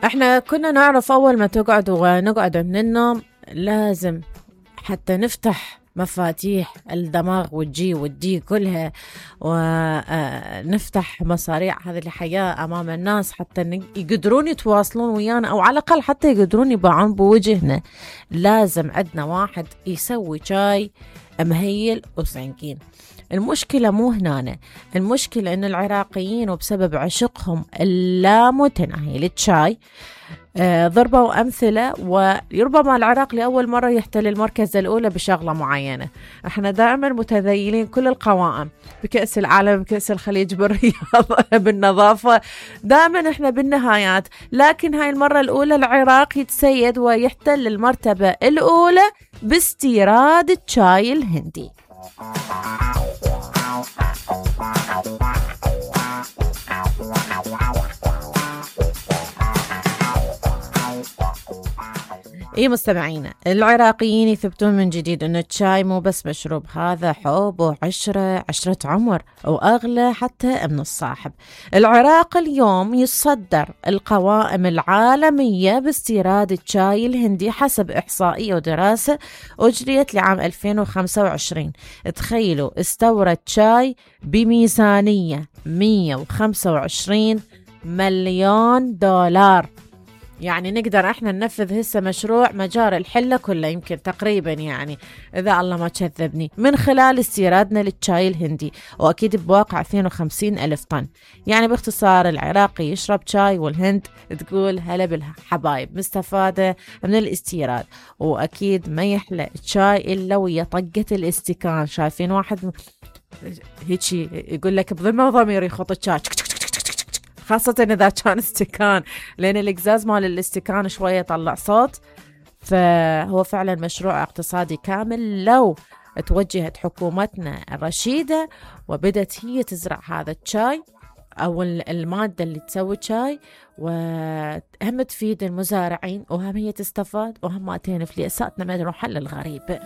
احنا كنا نعرف اول ما تقعد ونقعد من النوم لازم حتى نفتح مفاتيح الدماغ والجي والدي كلها، ونفتح مصاريع هذه الحياة أمام الناس حتى يقدرون يتواصلون ويانا، أو على الأقل حتى يقدرون يباعون بوجهنا. لازم عندنا واحد يسوي شاي مهيل وسنكين. المشكلة مو هنا، المشكلة إن العراقيين وبسبب عشقهم اللامتناهي للشاي ضربوا أمثلة، وربما العراق لأول مرة يحتل المركز الأولى بشغلة معينة. احنا دائما متذيلين كل القوائم بكأس العالم، بكأس الخليج، بالرياضة، بالنظافة، دائما احنا بالنهايات. لكن هاي المرة الأولى العراق يتسيد ويحتل المرتبة الأولى باستيراد الشاي الهندي. اي مستمعينا، العراقيين يثبتون من جديد ان الشاي مو بس مشروب، هذا حب وعشرة، عشرة عمر، واغلى حتى من الصاحب. العراق اليوم يتصدر القوائم العالمية باستيراد الشاي الهندي حسب احصائية ودراسة اجريت لعام 2025. تخيلوا، استورد شاي بميزانية 125 مليون دولار. يعني نقدر احنا ننفذ هسه مشروع مجار الحلة كله يمكن تقريبا، يعني اذا الله ما كذبني، من خلال استيرادنا للشاي الهندي، واكيد بواقع 52 الف طن. يعني باختصار العراقي يشرب شاي والهند تقول هلا بالحبايب، مستفادة من الاستيراد. واكيد ما يحلى الشاي الا ويا طقة الاستكان. شايفين واحد هيجي يقول لك بضمه وضمير يخط الشاي، خاصة إذا كان استكان، لأن الإقزاز مال الاستكان شوية يطلع صوت. فهو فعلا مشروع اقتصادي كامل لو توجهت حكومتنا الرشيدة وبدت هي تزرع هذا الشاي أو المادة اللي تسوي شاي، وهم تفيد المزارعين وهم هي تستفاد، وهم تين فليساتنا ما نروح حل الغريب.